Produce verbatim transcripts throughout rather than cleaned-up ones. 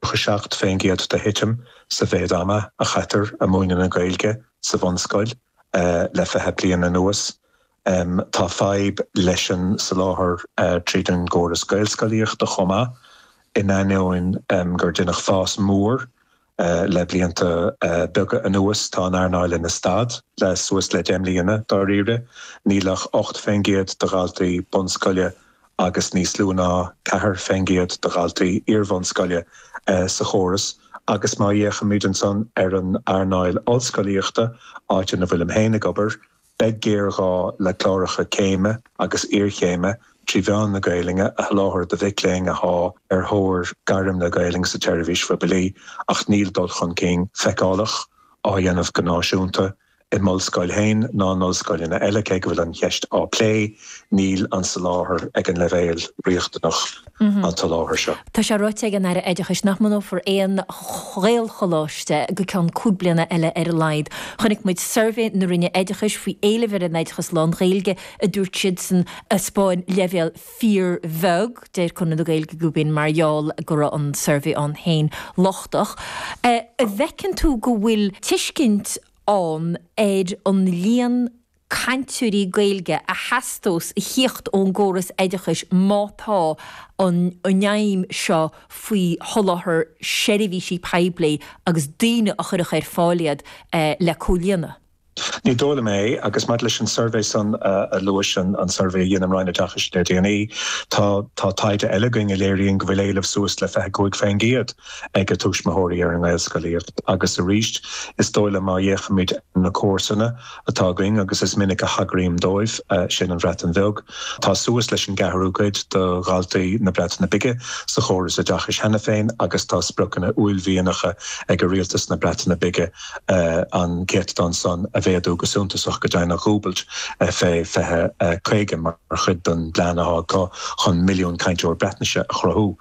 tríocha seacht faoin gcéad de thitim sa mhéid ama a chaitear ag múineadh na Gaeilge sa bhunscoil le fiche bliain anuas. Tá fadhb leis an soláthar tríd an gcóras Gaelscolaíochta chomh maith, in ainneoin gur deineadh fás mór le blianta beaga anuas. Tá an earnáil ina stad le suas le deich mbliana, dáiríre. Níl ach ocht faoin gcéad de dhaltaí bunscoile agus níos lú ná ceathair faoin gcéad de dhaltaí iar-bhunscoile sa chóras. Agus má fhéachaimid ansan ar an earnáil ollscolaíochta, áit ina bhfuilim féin ag obair, beidh géarghá le cláracha céime agus iarchéime trí mheán na Gaelainne a sholáthar do mhic léinn athá ar thóir gairm le Gaelainn sa tseirbhís phoiblí, ach níl dul chun cinn feiceálach á dhéanamh go náisiúnta i m'ollscoil féin ná in ollscoileanna eile, cé go bhfuil an cheist á plé, níl an soláthar ag an leibhéal riachtanach an tsoláthar seo. Tá sé ráite ag an Aire Oideachais nach mbunófar aon Ghaelcholáiste go ceann cúig bliana eile ar a laghad. Chonaic muid suirbhé na Roinne Oideachais faoi éileamh ar an oideachas lán-Ghaeilge, a dúirt siadsan, a 'spáin leibhéal fíorbheag. Deir Conradh na Gaeilge gurb in mar gheall go raibh an suirbhé ann féin lochtach. An bhfeiceann tú go bhfuil tuiscint ann ar an líon cainteoirí Gaeilge a theastós a thíocht ón gcóras oideachais má tá an aidhm seo faoi sholáthar seirbhísí poiblí agus daoine a chuirfeadh ar fáil iad le comhlíonadh? Ní dóigh liom é, agus maidir leis an suirbhé san a luais, an suirbhé a dhein an Roinn Oideachais le déanaí, tá tá taighde eile againn a léiríonn go bhfuil éileamh suas le fiche cúig faoin gcéad ag tuismitheoirí ar an nGaelscolaíocht. Agus arís, is dóigh liom má fhéachaimid ar na comharsana atá againn, agus is minic a thagraím dóibh, sin an Bhreatain Bheag, tá suas leis an gceathrú cuid de dhaltaí na Breataine Bige sa chóras oideachais cheana féin agus tá spriocanna uaillmhianacha ag rialtas na Breataine Bige an céatadán san a mhéadú go suntasach go deimhin a dhúbailt fé fiche caoga mar chuid den bplean atá acu chun milliún cainteoir Breatnaise a chruthú.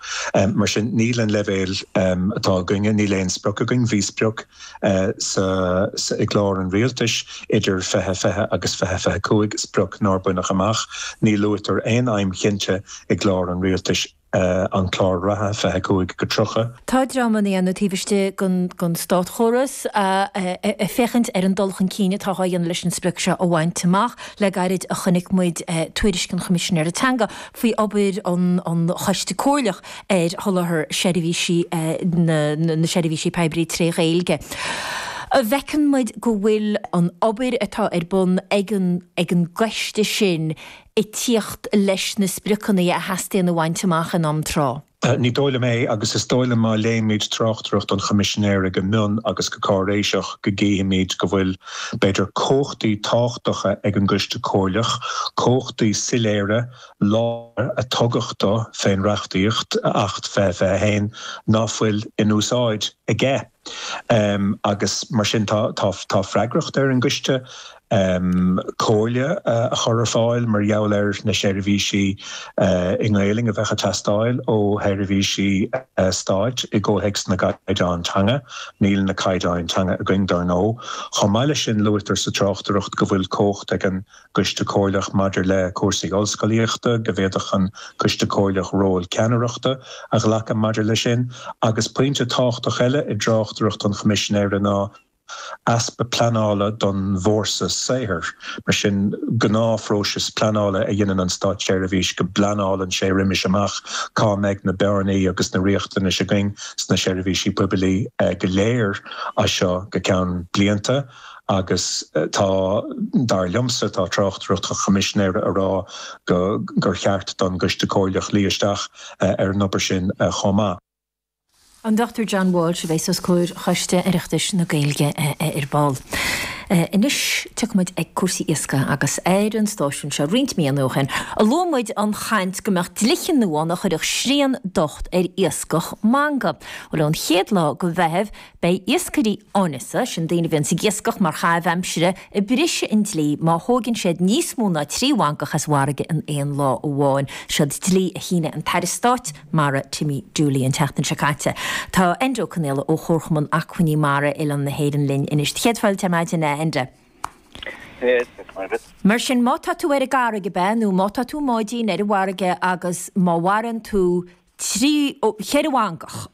Mar sin, níl an leibhéal atá againne, níl aon sprioc againn. Bhí sprioc sa i gclár an rialtais idir fiche fiche agus fiche fiche cúig, sprioc nár baineadh amach. Ní luaitear aon aidhm chinnte i gclár an rialtais. an clár reatha, fiche cúig go tríocha. Tá dreamanna ann taobh istigh den státchóras ag féachaint ar an dul chun cinn atá á dhéanamh leis an sprioc seo a bhaint amach. Le gairid a chonaic muid tuairisc an Choimisinéara Teanga faoi obair an Choiste Comhairleach ar sholáthar seirbhísí na seirbhísí poiblí tré Ghaeilge. Bhfeiceann muid go bhfuil an obair atá ar bun ag an gcoiste sin ag tíocht leis na spriocanna a theastaíonn a bhaint amach in am tráth? Ní dóigh liom é, agus is dóigh liom má léimid tráchtaireacht an Choimisinéara go mion agus go cáiréiseach go gcífimid go bhfuil, b'fhéidir, cumhachtaí tábhachtacha ag an gCoiste Comhairleach, cumhachtaí soiléire, láidre a tugadh dó fén reachtaíocht, Acht fiche fiche a haon, ná fuil in úsáid aige. Agus mar sin tá tá freagracht ar an gcoiste comhairle a chur ar fáil mar gheall ar na seirbhísí i nGaelainn a bheadh ag teastáil ó sheirbhísí stáit i gcomhthéacs na gcaighdeán teanga. Níl na caighdeáin teanga againn, dar ndóigh. Chomh maith leis sin, luaitear sa tráchtaireacht go bhfuil cumhacht ag an gCoiste Comhairleach maidir le cúrsaí ollscolaíochta, go bhféadfadh an Coiste Comhairleach ról ceannaireachta a ghlacadh maidir leis sin. Agus pointe tábhachtach eile i dtráchtaireacht an Choimisinéara ná easpa pleanála don bhfórsa saothair. Mar sin, gnáthphróiseas pleanála a dhéanann an státseirbhís, go bpleanálann sé roimis amach cá mbeidh na bearnaí agus na riachtanais againn sna seirbhísí poiblí go léir as seo go ceann blianta. Agus tá, dar liomsa, tá tráchtaireacht an Choimisinéara ag rá go gur cheart don gCoiste Comhairleach luí isteach ar an obair sin chomh maith. An Dochtúir John Walsh a bheas os comhair Choiste Oireachtais na Gaeilge ar ball. Anois tiocfaidh muid ag cúrsaí iascaigh agus ar an stáisiún seo roinnt míonna ó shin a luaigh muid an chaint go mbeadh dlíthe nua ann a chuirfeadh srian docht ar iascach manga. Bhuel ón chéad lá de Mheitheamh beidh iascairí áineasa, sin daoine a bhíonns ag iascach mar chaitheamh aimsire, ag briseadh an dlí má thóigeann siad níos mó ná trí mhangach as an bhfarraige in aon lá amháin. Siod dlí a shínigh an tAire Stáit Mara Timmy Dooley an tseachtain seo caite. Tá Enda Ó Conaola ó Chomharchumann Acmhainní Mara Oileán na hÉireann linn anois. Céad fáilte ar maidin, a Enda. Mar sin, má tá tú ar an gcarraig, ab ea, nó má tá tú i mbáidín ar an bhfarraige agus má mharaíonn tú trí, ceithre mhangach